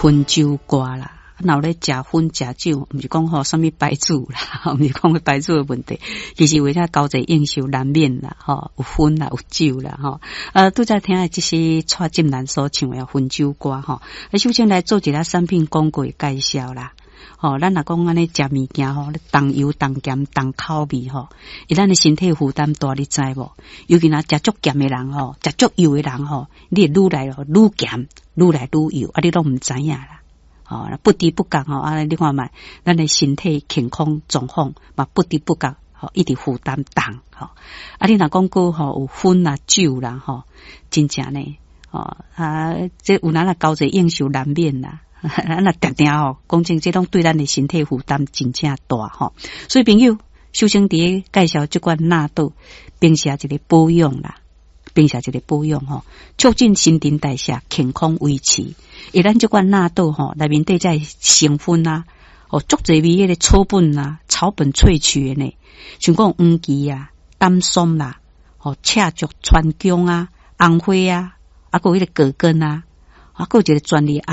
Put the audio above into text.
薰酒歌啦。若有咧食薰食酒，毋是講吼啥物牌子啦，毋是講牌子的問題，其實為了交際應酬難免啦，吼有薰啦，有酒啦，吼。拄才聽的這是蔡振南所唱的《薰酒歌》吼。首先來做一下產品廣告的介紹啦。吼，咱若講按呢食物件吼，重油重鹹重口味吼，伊咱的身體負擔大，你知無？尤其若食足鹹的人吼，食足油的人吼，你會愈來愈鹹，愈來愈油，啊，你攏毋知影啦。吼，不知不覺吼，啊，你看覓，咱的身體健康狀況嘛，不知不覺吼，一直負擔重吼。啊，你若講閣吼有薰啦酒啦吼，真正呢，吼啊，這有哪若交際應酬難免啦。咱若定定吼，講真，這攏對咱的身體負擔真正大吼。所以朋友，首先佇咧介紹這款納豆，平時一個保養啦，平時一個保養吼，促進新陳代謝，健康維持。伊咱這款納豆吼，內面底這成分啊，哦，足濟味彼个草本啊，草本萃取的呢，像講黃芪啊、丹參啦，吼，赤芍、川芎啊、紅花啊，啊，閣有彼個葛根啊，啊，閣有一個專利。